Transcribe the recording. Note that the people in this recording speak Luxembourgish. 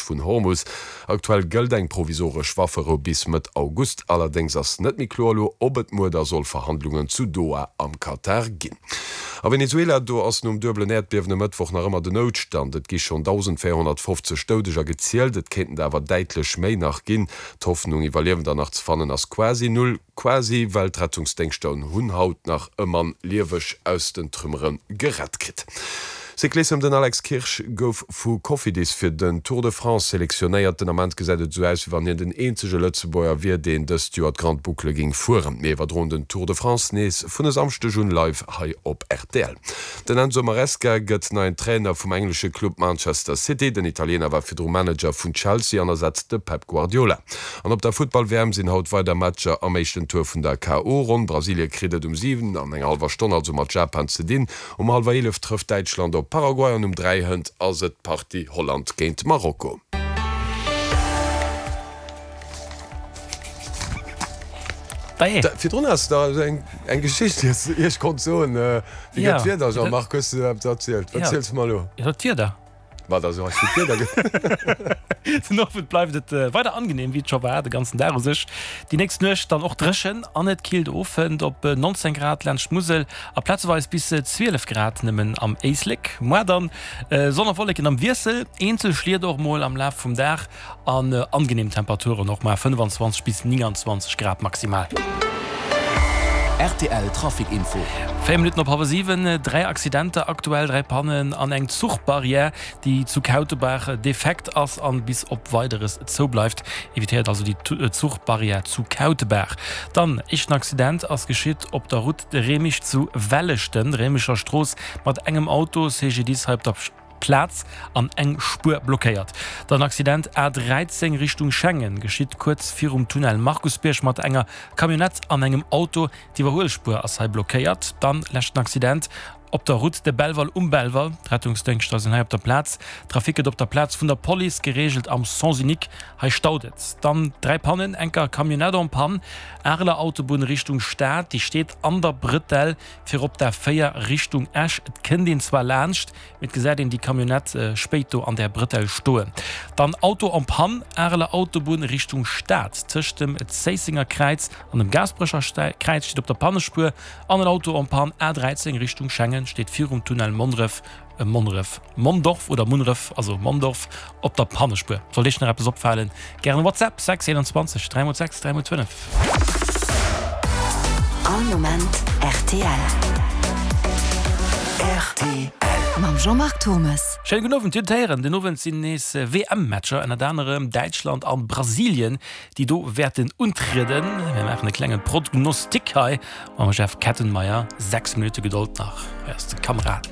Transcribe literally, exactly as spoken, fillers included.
vun Hormus. Aktuell gëllt eng provisoresch Wafferou bis Mëtt August. Allerdéngs ass net méi kloer elo, ob et muer da soll Verhandlungen zu Doha am Katar ginn. A Venezuela, do ass nom duebelen Äerdbiewen e Mëttwoch nach ëmmer den Noutstand. Et gi schonn dausendvéierhonnertfofzeg Doudeger gezielt, et kéinten der awer däitlech méi nach ginn. D'Hoffnung, Iwwerliewender nach ze fannen, ass quasi null. Quasi, well d'Rettungsdéngschter hunn haut nach e Mann lieweg aus den Trümmere gerett kritt. Cyclissem, Den Alex Kirsch gouf vu Cofidis fir den Tour de France selektionéiert. Den Ament gesäit et esou aus, wéi wann hien den eenzege Lëtzebuerger wier, deen dëst Joer d'Grande Boucle géing fueren. Mir iwwerdroen den Tour de France nees vun e Samschdeg un live hei op rtl. Den Enzo Maresca gëtt neien Trainer vum englesche Club Manchester City. Den Italiener war virdru Manager vun Chelsea an ersetzt de Pep Guardiola. An op der Futtball-W M sinn haut weider Matcher am éischten Tour vun der K O-Ronn. Brasilie kritt et um siwen an enger hallwer Stonn also mat Japan ze dinn. Um hallwer eelef trëfft Däitschland op Paraguay an um dräi hënt ass et d'Partie Holland géint Marokko. Virdrun has de der eng eng Geschicht déi s de iech konnt soen. Wéi gëtt d'Wieder, Jean-Marc? Hues de eppes erzielt? Wat ziels de mer elo? Jo, d'Wieder. Wat ass elo fir d'Wieder? Den Owend bleift et weider angenehm, wéi et scho war de ganzen Dag u sech. Déi nächst Nuecht dann och dréchen an et killt of, hënt op neunzehn Grad laanscht d'Musel a plazeweis bis zwielef Grad nëmmen am Éislek. Moar dann Sonn a Wolleken am Wiessel, eenzel Schliet och mol am Laf vum Dag an angenehm Temperaturen och mar fënnefanzwanzeg bis nénganzwanzeg Grad maximal. Rtl Trafic Info. Véier Minutten op hallwer siwen, dräi Accidenter aktuell, dräi Pannen an eng Zuchbarrière, déi zu Kautebaach defekt ass an bis op Weideres zou bleift. Evitéiert also déi Zuchbarrière zu Kautebaach. Dann, éischten Accident ass geschitt op der Route de Remich zu Welleschten, Réimecher Strooss, mat engem Auto, C G D I S hei op der Plaz an eng Spuer blockéiert. Dann Accident A dräizéng Richtung Schengen, geschitt kuerz virum Tunnel Markusbierg mat enger Camionnette an engem Auto. D'Iwwerhuelspuer ass hei blockéiert. Dann leschten Accident op der Route de Belval um Belval. D'Rettungsdéngschter sinn hei op der Plaz. Trafic gëtt op der Plaz vun der Police gereegelt am Sens unique. Hei staut et. Dann dräi Pannen, enker Camionnette en panne, Areler Autobunn Richtung Stad, déi steet an der Brëtell fir op d'A véier Richtung Esch. Et kënnt een zwar laanscht, mee et gesäit een déi Camionnette spéit do an där Brëtell stoen. Dann Auto en panne, Areler Autobunn Richtung Stad, tëscht dem Zéissenger Kräiz an dem Gaasperecher Kräiz steet op der Pannespuer an en Auto en panne, A dräizéng Richtung Schengen steet virum Tunnel Monneref, Monneref, Mondorf oder Munneref, also Mondorf, op der Pannespuer. Sollt Iech nach eppes opfalen, gären WhatsApp, sechs einundzwanzeg dräi mol sechs dräi mol fënnef. All Moment rtl. Rtl. Mam Jean-Marc Turmes. Schéine gudden Owend. Dir hutt et héieren, den Owend sinn nees W M-Matcher, ënnert anerem Däitschland an Brasilien, déi do wäerten untrieden. Mir maachen e klenge Prognostic hei mam Jeff Kettenmeyer. Sechs Minutte Gedold nach, hei ass de Kamerad.